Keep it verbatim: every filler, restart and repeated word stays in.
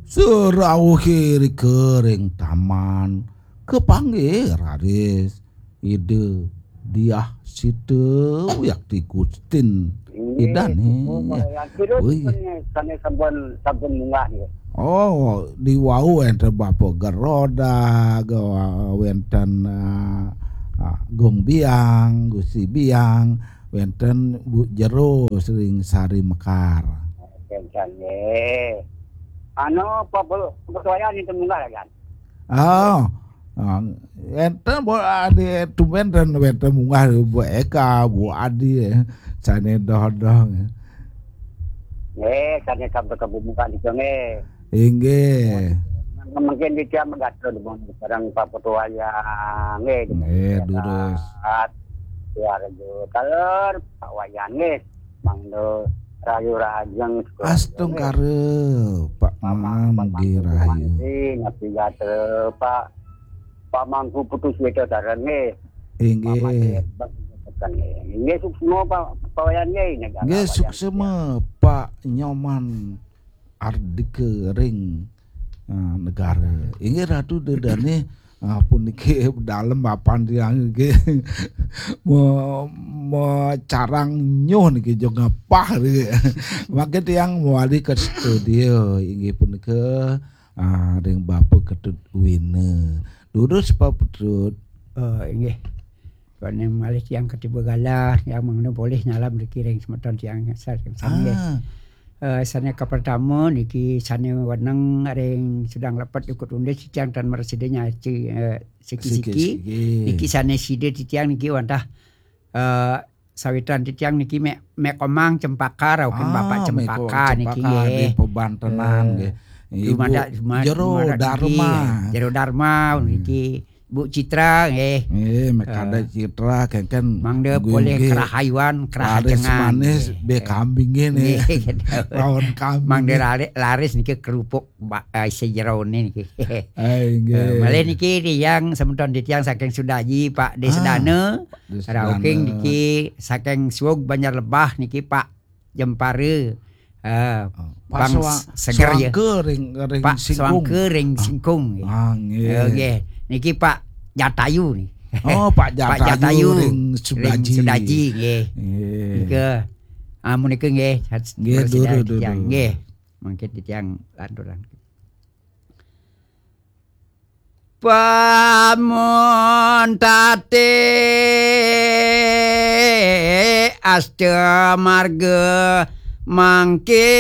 Serauh irika ring taman, kapanggih raris Ida Diah Sita Wiakti Gustin. Inggih, Idané. Suksma, Pak Wayan. Sira Ui. Sampun, sané sampun, sampun munggah nggih. Oh, di wau wénten Bapa Geroda, ga-, wénten, ah, ah, Gung Biang, Gusti Biang, wénten Bu Jero ring Sari Mekar. Wénten nggih. Anu, Pak Bu, Pak Wayan itu munggah ya, kan? Oh, ah, enten Bu Adi, tumben ten wénten munggah Bu Eka, Bu Adi, eh, sané doh-doh. Nggih, sané sampun kabumukan itu nggih. Inggih. Mungkin di tiang megatur sareng Pak Putu Wayang nggih. Nggih, durus. Keluarga taler Pak Wayan nggih. Mangda rahayu rahajeng sekeluarga nggih. Astungkara, Pak Pamang, Manggi Pak Rahayu. Mansi, Napi Gatra, Pak, Pak Mangku Putu Sweta Taran nggih. Inggih. Pak Made, Pak Tekan nggih. Inggih, suksma Pak, Pak Wayan nggih, negara Nggih, Wayan. Suksma Pak Nyoman Ardika ring, ah, negara. Inggih Ratu Dedane, ah, puniki dalem mapan tiang nggih. Me-, mecarang nyuh niki jo ngepah niki. Mangke tiang mawali ke studio inggih punika, ah, ring Bapa Ketut Wina. Durus Pak Ketut. Eh, inggih. Kone malih tiang katiba galah, tiang mangda polih nyalam niki ring semeton tiang sa-, sami. Ah. Eh, sane kapertama niki sane weneng ring Sudang Lepet Ukut Undis, tiang tan mresida nyaci, eh, siki-siki. Siki-siki. Niki sane sida titiang niki wantah, eh, sawitan titiang niki Mek, Mek Komang Cempaka, rauh ring Bapak Cempaka niki nggih. Di Pebantenan nggih. Ibu Jero Darma. Jero Darma niki. Bu Citra nggih. Nggih, Mek Kadek Citra, kengken mangda polih kerahayuan, kerahajengan manis, nggih. Be kambing nggih. Nggih, gitu. Lawan kambing. Mangda laris, laris niki kerupuk ba-, eh, sejerone niki. Ai, nggih. Eh, malih niki tiang semeton titiang saking Sudaji, Pak Desdana. Ah, Pak Desdana. Rauh ring niki saking Suwug Banjar Lebah niki, Pak Jempara. Eh, oh, Pak Bang Suwa-, Seger ya. Suwangka ring, ring Pak Singkung. Suwangka ring Singkung, nggih. Ah, nggih. Eh, nggih. Niki Pak Jatayu nih. Oh, Pak Jatayu ring Sudaji. Pak Jatayu ring Sudaji, nggih. Nggih. Nika, ah, menika nggih, nggih, durus, durus. Nggih. Mangke titiang lanturang. Pamuntate asta marga mangke